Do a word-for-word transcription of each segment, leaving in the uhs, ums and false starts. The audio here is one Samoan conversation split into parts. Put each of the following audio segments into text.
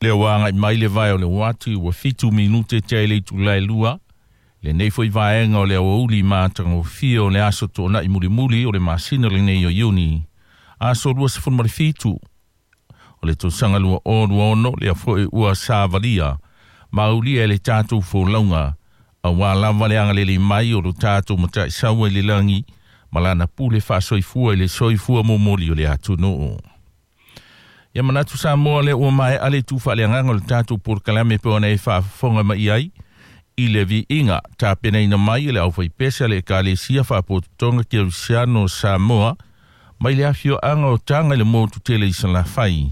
Lea ua agai mai le vae o le uati ua fitu minute tea i le itula e lua. Lenei foi vaega o le aoauli matagofie o le aso toonai mulimuli o le masina lenei o Iuni. Aso lua sefulu ma le fitu. O le tausaga lua o lua ono lea foi ua savalia. Maulia e le tatou folauga. Auā lava le agalelei mai o lo tatou Mataisaua i le lagi ma lana pule faasoifua i le soifua momoli o le atunuu. Ia manatu Samoa lea ua maea le itu faaleagaga o le tatou polokalame pe ona e faafofoga mai ai i le viiga tapenaina mai e le aufaipese a le Ekalesia Faapotopotoga Kerisiano o Samoa mai le afioaga o Taga i le motu tele i Salafai.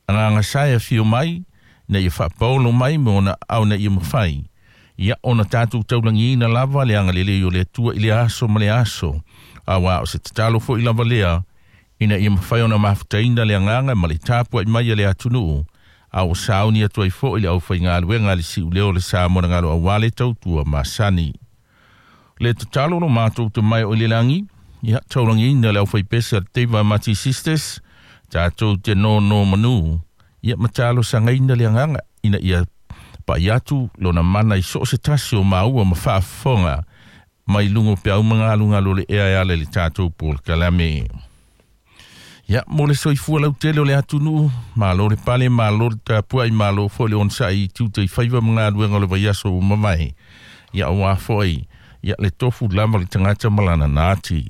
Agaga sa e afio mai ina ia faapaolo mai ma ona ao ina ia mafai. Ia ona tatou taulagiina lava le agalelei o le Atua i le aso ma le aso. Auā o se tatalo foi lava lea ina ia mafai ona mafutaina le agaga ma le tapuai mai a le atunuu. A ua sauni atu ai foi le aufaigaluega a le siuleo o le Samoa na galo auā le tautua masani. Le tatalo lo matou te mai o i le lagi, ia taulagiina le aufaipese a le Teiva Mati Sisters, tatou te nono manu, ia ma talosagaina le agaga ina ia pai atu lona mana i so o se tasi o maua ma faafofoga mai luga o peau ma galugalu o le ea e ala i le tatou polokalame. Ia, mo le soifua lautele o le atunuu, malo le pale, malo le tapuai, malo foi le onosai i tiute i faiva ma galuega o le vaiaso ua mavae. Ia, auā foi, ia le tofu lava le tagata ma lana nati.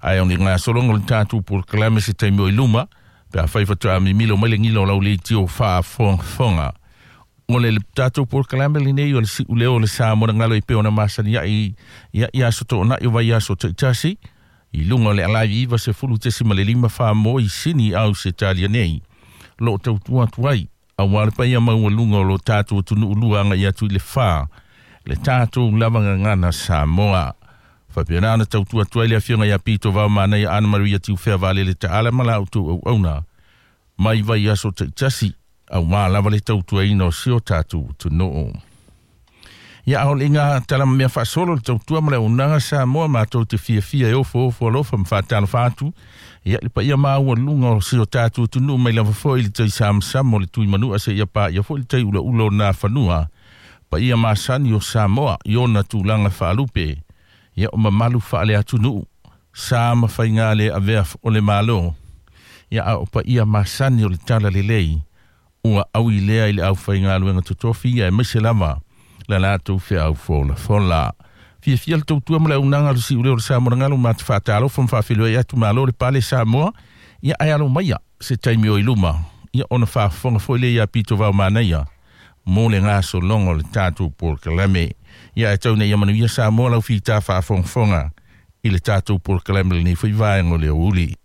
Ae o le gasologa o le tatou polokalame se taimi o i luma, pe afai faatoa mimilo mai le gila o lau leitio faafogafoga. O le tatou polokalame lenei o le siuleo o le Samoa na galo e pei ona masani ai ia, i aso toonai o vaiaso taitasi, i luga o le alae iva sefulu tesima le lima fa mo i Sini Ausetalia nei. Lo o tautua atu ai, auā le paia maualuga o lo tatou atunuu lua agai atu i le fa, le tatou lava gagana Samoa. Faapena ona tautua atu ai le afioga ia Pito Vaomanaia Ana Maria Tiufea Valele Taala ma la outou auauna mai vaiaso taitasi, auā lava le tautuaina o si o tatou atunuu. Ia a o le iga tala ma mea faasolo le tautua ma le auaunaga Samoa matou te fiafia e ofoofo alofa ma faatalofa atu. Ia le paia maualuga o si o tatou atunuu mai lava foi i le tai samasama o le Tuimanua seia paia foi le tai ulaula o Nafanua. Paia masani o Samoa i ona tulaga faalupe. Ia o mamalu faaleatunuu sa ma faiga le avea o le Malo. Ia a o paia masani o le talalelei ua aui lea i le aufaigaluega totofi ia aemaise lava la latou feau folafola. Fiafia le tautua ma le auaunaga o le siuleo o le Samoa na galo ma te faatalofa ma faafeiloai atu malo le pale Samoa. Ia ae alo maia se taimi o i luma. Ia ona faafofoga foi lea ia Pito Vaomanaia mo le gasologa o le tatou polokalame. Ia ae tau ina ia manuia Samoa lau fita faafogafoga i le tatou polokalame lenei foi vaega o le aoauli.